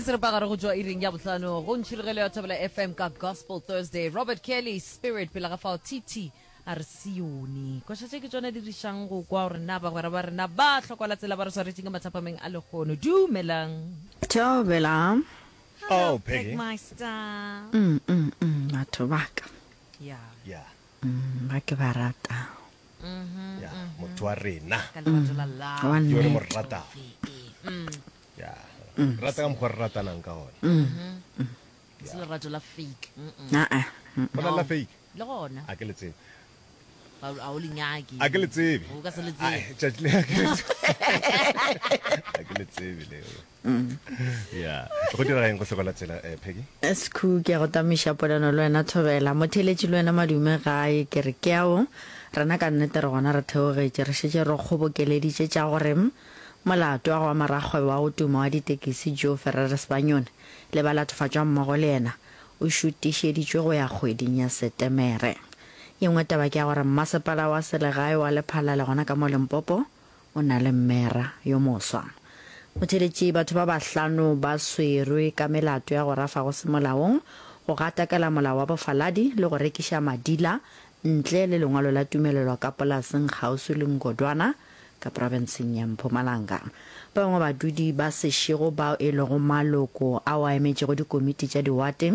seripagare go tšwa iring ya bohlano go ntšhirogelo ya Thobela FM ka Gospel Thursday. Robert Kelly, Spirit, pele ga fao TT a re Sione. Koša tše ke tšona di rišang go kwa gore na bagwera ba rena ba hlokwala tsela ba re swaretšeng ka mathapameng a lehono. Dumelang. Thobela. Hello, Oh, Peggy. Pegmeister. Mm, mm, mm, batho ba ka. Yeah. Yeah. Mm, ba ke ba rata. Ya, motho wa rena. Ka lerato la love. Wa Yo re mo nnete. ratago. Mm. Ya. Rata ka mokgwa re ratanang ka gona. Se lerato la fake. Mm-mm. Ah, ah. Go na le la fake? Le gona. A ke le tsebe. A a o le nyake. A ke le tsebe. O ka se le tsebe. Ai, tšatši le a ke le tsebe. A ke le tsebe leo. Ya. Go direga eng go hloko la tsela, eh, Peggy? Sekhu, ke a go tamiša polelo le wena Thobela. Motheeletši le wena Madume gae, ke re ke ao. Rena ka nnete re gona re theogetše, re šetše re kgobokeleditše tša gore molato wa go ama rakgwebo wa go tuma wa ditekisi Joe Ferrer Sebanyoni le balatofatšwa mmogo le yena o šutišeditšwe go ya kgweding ya Setemere. Ye nngwe taba ke ya gore mmasepala wa selegae wa Lephalale gona ka mo Limpopo o na le mmera yo moswa. Motheeletši, batho ba bahlano ba swerwe ka melato ya go rafa go se molaong, go gatakela molao wa bofaladi le go rekiša madila ntle le lengwalo la tumelelo ka polaseng kgauswi le Ngodwana ka profenseng ya Mpumalanga. Ba bangwe badudi ba Seshego bao e lego maloko ao a emetšego dikomiti tša diwate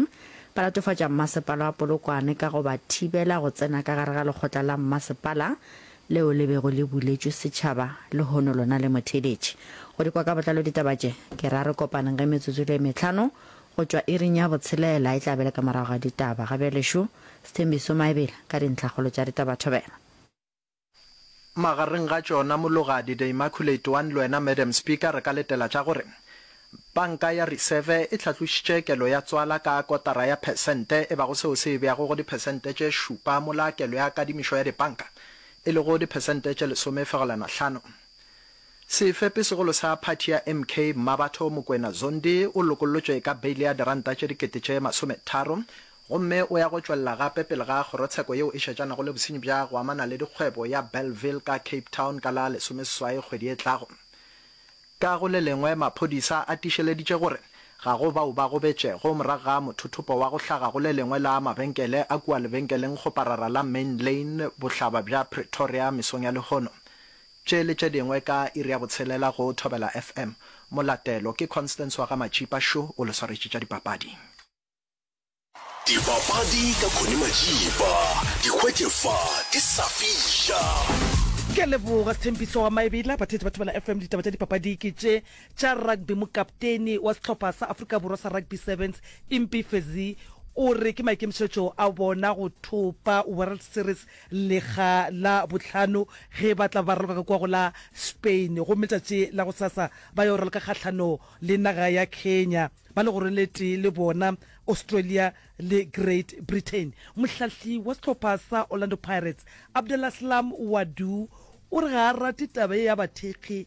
ba latofatša mmasepala wa Polokwane ka go ba thibela go tsena ka gare ga lekgotla la mmasepala leo le bego le buletšwe setšhaba lehono lona le motheeletše. Go di kwa ka botlalo ditaba tše, ke ra re kopaneng ge metsotso e le e mehlano go tšwa iring ya botshelela e tla be le ka morago ga ditaba. Ga bjale šo Sthembiso Maebela ka dintlhakgolo tša ditaba thobela. Magareng ga tšona Mologadi, The Immaculate One le wena Madam Speaker re ka letela tša gore Panka ya Riseve e hlatlošitše kelo ya tswala ka kotara ya phesente e bago seo se e beago go diphesente tše šupa mola kelo ya kadimišo ya dipanka e lego diphesente tše lesome fegelwana hlano. Sefepi-segolo sa phathi ya MK Mmabatho Mokoena Zondi o lokollotšwe ka beile ya diranta tše dikete tše masometharo gomme o ya go tšwelela gape pele ga kgorotsheko yeo e šetšanago le bosenyi bja go amana le dikgwebo ya Bellville ka Cape Town ka la lesomeseswai kgwedi e tlago. Ka go le lengwe, maphodisa a tiišeleditše gore ga go bao ba gobetšego morago ga mothothopo wa go hlaga go le lengwe la mabenkele a kua lebenkelengkgoparara la Main Lane bohlaba bja Pretoria mesong ya lehono. Tše le tše dingwe ka iri ya botshelela go Thobela FM. Molatelo ke Constance wa ga Matšipa šo o le swaretše tša dipapadi. Dipapadi ka Connie Majiba, di hwetše fa di sa fiša. Ke a leboga Sthembiso wa Maebela. Batheetši ba Thobela FM, ditaba tša dipapadi ke tše tša rugby. Mokapteni wa sehlopha sa Afrika Borwa sa Rugby Sevens, Impi Fezi, o re ke maikemišetšo a bona go thopa World Series lekga la bohlano ge ba tla ba raloka ka kua go la Spain gomme letšatši la gosasa ba yo raloka kgahlano le naga ya Kenya. Ba legorong le tee le bona Australia le Great Britain. Mohlahli wa sehlopha sa Orlando Pirates, Abdelaslam Ouaddou, o re ga a rate taba ye ya bathekgi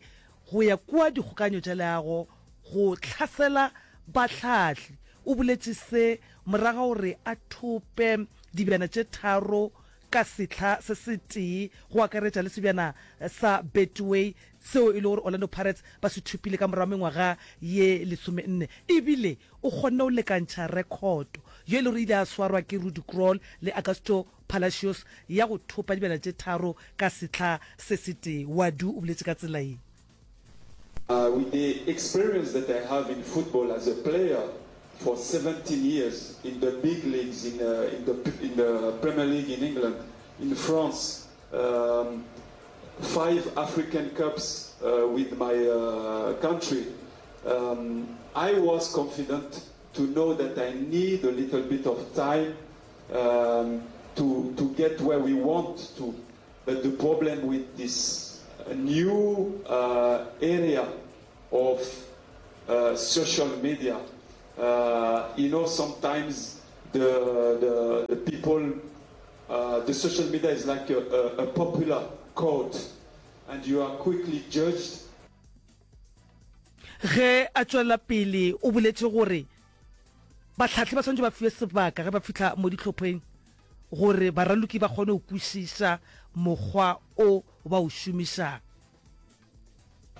go ya kua dikgokaganyo tša leago go hlasela bahlahli. O boletše se morago ga gore a thope dibjana tše tharo ka sehla se setee go akaretša le sebjana sa Betway seo e le gore Orlando Pirates ba se thopile ka morago mengwaga ye lesomenne. Ebile o kgonne go lekantšha rekhoto ye e le gore ile ya swarwa ke Rudi Krol le Augusto Palacios ya go thopa dibjana tše tharo ka sehla se setee. Wadu o boletše ka tsela ye. With the experience that I have in football as a player for 17 years in the big leagues, in, uh, in, the, in the Premier League in England, in France, um, five African Cups uh, with my uh, country, um, I was confident to know that I need a little bit of time um, to, to get where we want to. But the problem with this new uh, area of uh, social media, uh, you know, sometimes the, the, the people, uh, the social media is like a, a, a popular court, and you are quickly judged. Ge a tšwela pele o boletše gore bahlahli ba swanetše ba fiwe sebaka ge ba fihla mo dihlopheng gore baraloki ba kgone go kwešiša mokgwa o ba o šomišang.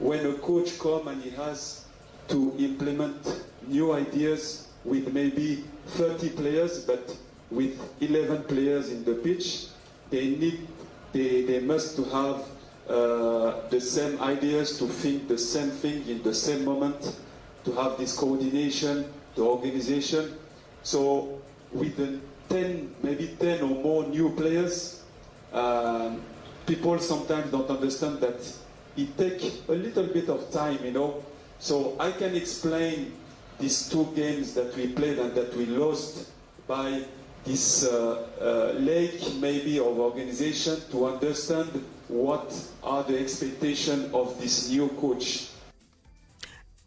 When a coach come and he has. to implement new ideas with maybe 30 players, but with 11 players in the pitch. They need, they, they must to have uh, the same ideas, to think the same thing in the same moment, to have this coordination, the organization. So with the 10, maybe 10 or more new players, um, people sometimes don't understand that it takes a little bit of time, you know. So I can explain these two games that we played and that we lost by this uh, uh, lack maybe of organization to understand what are the expectations of this new coach.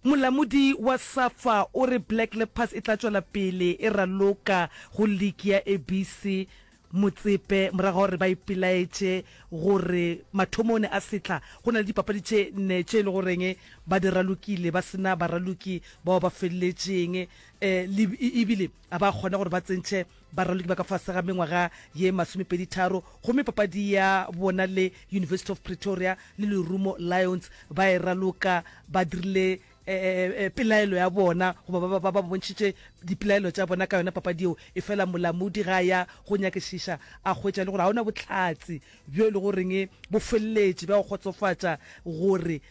Molamodi wa SAFA o re Black Leopards e tla tšwela pele e raloka go liki ya ABC Motsepe morago ga gore ba ipelaetše gore mathomong a sehla go na le dipapadi tše nne tše e le goreng ba di ralokile ba se na baraloki bao ba feleletšeng ebile a ba kgona gore ba tsentšhe baraloki ba ka fase ga mengwaga ye masomepeditharo gomme papadi ya bona le University of Pretoria le Lerumo Lions ba e raloka ba dirile pelaelo ya bona goba ba, ba, ba bontšhitše dipelaelo tša bona ka yona papadi yeo. Efela molamodi ga a ya go nyakišiša a hwetša le gore ga ona bohlatse bjo e le goreng bo feleletše bja go kgotsofatša gore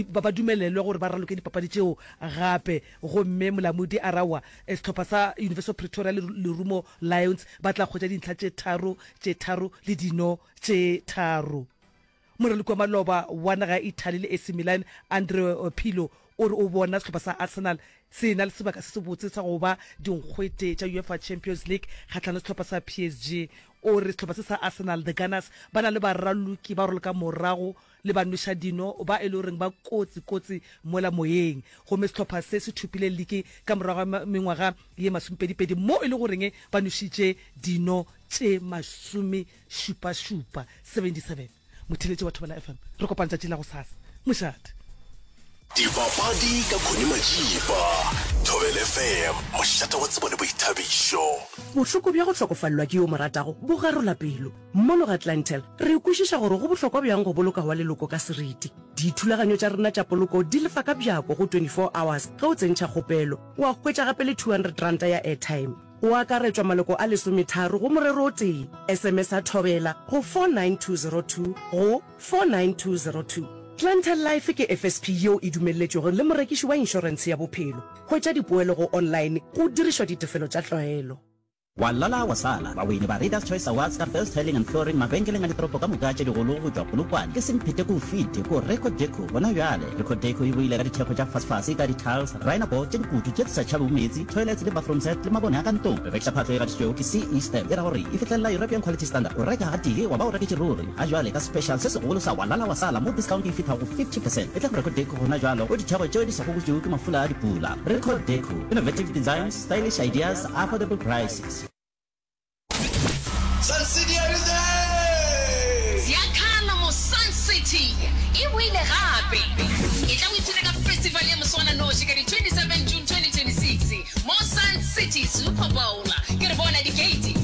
ba, ba dumelelwe gore ba raloke dipapadi tšeo gape. Gomme molamodi a ra wa sehlopha sa University of Pretoria le Lerumo Lions ba tla hwetša dintlha tše tharo, tše tharo le dino tše tharo. Moraloki wa maloba wa naga ya Italy le AC Milan, Andrea Pirlo, o re o bona sehlopha sa Arsenal se e-na le sebaka se sebotse sa go ba dinkgwete tša UEFA Champions League kgahlanong le sehlopha sa PSG. O re sehlopha se sa Arsenal, The Gunners, ba na le baraloki ba raloka morago le banwešadino ba e le goreng ba kotsi kotsi mola moyeng. Gomme sehlopha se se thopile liki ka morago ga mengwaga ye masomepedipedi mo e le goreng ba nwešitše dino tše masome šupa-šupa 77 Motheeletši wa Thobela FM, re kopana tšatši la gosasa. Mošate. Dipapadi ka Connie Majiba, Thobela FM, mošate wa tsebo le boithabišo. Bohloko bja go hlokofalelwa ke yo o mo ratago bo garola pelo. Mono ga Clientele, re kwešiša gore go bohlokwa bjang go boloka wa leloko ka seriti. Dithulaganyo tša rena tša poloko di lefa ka bjako go 24 hours ge o tsentšha kgopelo. Wa hwetša gape le R200 ya airtime. Go akaretšwa maloko a lesometharo go morero o tee. SMS-a Thobela go 49202 go 49202. Clientele Life ke FSP yeo e dumelletšwego le morekiši wa inšorentshe ya bophelo. Hwetša dipoelo go online go dirišwa ditefelo tša tlwaelo. Wa lala wa sala, bawini ba Readers Choice Awards ka Best Tiling and Flooring mabenkeleng a ditoropo ka moka tše digolo go tšwa Polokwane ke Semphete ko Fite ko Record Deco gona bjale. Record Deco e boile ka dithekgo tša fasefase ka di-tiles, Rhino-board tše dikutu tše di sa tšhabego meetse, toilets le bathroom set le mabone a ka ntlong. Re rekiša phahlo e gatišitšwego ke CE Stamp, e ra gore e fihlelela European Quality Standard. O reka gatee wa ba o reketše ruri. Ga jwale ka special se segolo sa wa lala wa sala mo discount e fihla go 50 percent. Etla go Record Deco gona jwalo go ditheko tšeo di sa gogotšwego ke mafula a dipula. Record Deco, innovative designs, stylish ideas, affordable prices. Sun City are you there? Ziakhala mo Sun City e boile gape. Etla o ipshine ka festival ya moswananoši ka di 27 June 2026 mo Sun City Super Bowl. Ke re bona di-gate.